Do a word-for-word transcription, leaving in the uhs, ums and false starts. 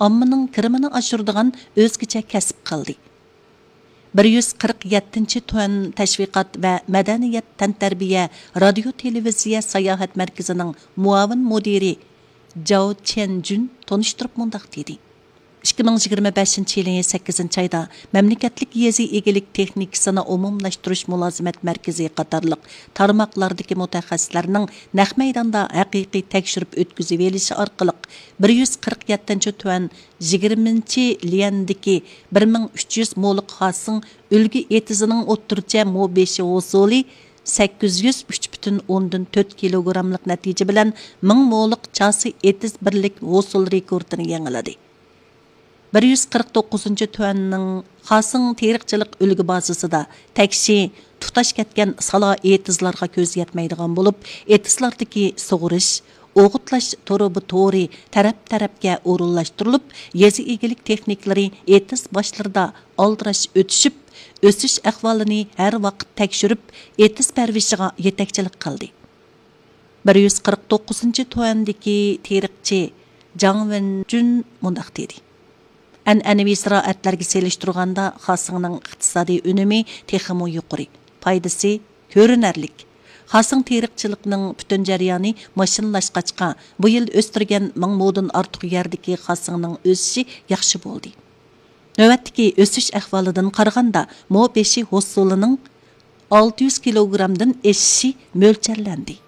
ئاممىنىڭ كىرىمىنى ئاشۇرىدىغان ئۆزگىچە كەسىپ قىلدى. بىر يۈز قىرىق يەتتىنچى تۈەن تەشۋىقات ۋە مەدەنىيەت، تەنتەربىيە، رادىيو، تېلېۋىزىيە، ساياھەت مەركىزىنىڭ مۇئاۋىن مۇدىرى جاۋ چيەنجۈن تونۇشتۇرۇپ مۇنداق دېدى: ئىككى مىڭ يىگىرمە بەشىنچى يىلى سەككىزىنچى ئايدا مەملىكەتلىك يېزا ئىگىلىك تېخنىكىسىنى ئومۇملاشتۇرۇش مۇلازىمەت مەركىزى قاتارلىق تارماقلاردىكى مۇتەخەسسىسلەرنىڭ نەق مەيداندا ھەقىقىي تەكشۈرۈپ ئۆتكۈزۈۋېلىشى ئارقىلىق، بىر يۈز قىرىق يەتتىنچى تۈەن يىگىرمىنچى ليەندىكى بىر مىڭ ئۈچ يۈز مولۇق خاسىڭ ئۈلگە ئېتىزىنىڭ ئوتتۇرىچە مو بېشى ھوسۇلى سەككىز يۈز ئۈچ پۈتۈن ئوندىن تۆت كىلوگراملىق نەتىجە بىلەن مىڭ مولۇق چاسا ئېتىز بىرلىك ھوسۇل رېكورتىنى يېڭىلىدى. بىر يۈز قىرىق توققۇزىنچى تۈەننىڭ خاسىڭ تېرىقچىلىق ئۈلگە بازىسىدا تەكشى تۇتاش كەتكەن سالا ئېتىزلارغا كۆز يەتمەيدىغان بولۇپ، ئېتىزلاردىكى سۇغىرىش، ئوغۇتلاش تۇرۇبا تورى تەرەپ-تەرەپكە ئورۇنلاشتۇرۇلۇپ، يېزا ئىگىلىك تېخنىكلىرى ئېتىز باشلىرىدا ئالدىراش ئۆتۈشۈپ، ئۆسۈش ئەھۋالىنى ھەر ۋاقىت تەكشۈرۈپ، ئېتىز پەرۋىشىغا يېتەكچىلىك قىلدى. بىر يۈز قىرىق توققۇزىنچى تۈەندىكى تېرىقچى جاڭ ۋېنجۈن مۇنداق دېدى: ئەنئەنىۋى زىرائەتلەرگە سېلىشتۇرغاندا، خاسىڭنىڭ ئىقتىسادىي ئۈنۈمى تېخىمۇ يۇقىرى، پايدىسى كۆرۈنەرلىك. خاسىڭ تېرىقچىلىقىنىڭ پۈتۈن جەريانى ماشىنىلاشقاچقا، بۇ يىل ئۆستۈرگەن مىڭ مودىن ئارتۇق يەردىكى خاسىڭنىڭ ئۆسۈشى ياخشى بولدى. نۆۋەتتىكى ئۆسۈش ئەھۋالىدىن قارىغاندا، مو بېشى ھوسۇلىنىڭ ئالتە يۈز كىلوگرامدىن ئېشىشى مۆلچەرلەندى.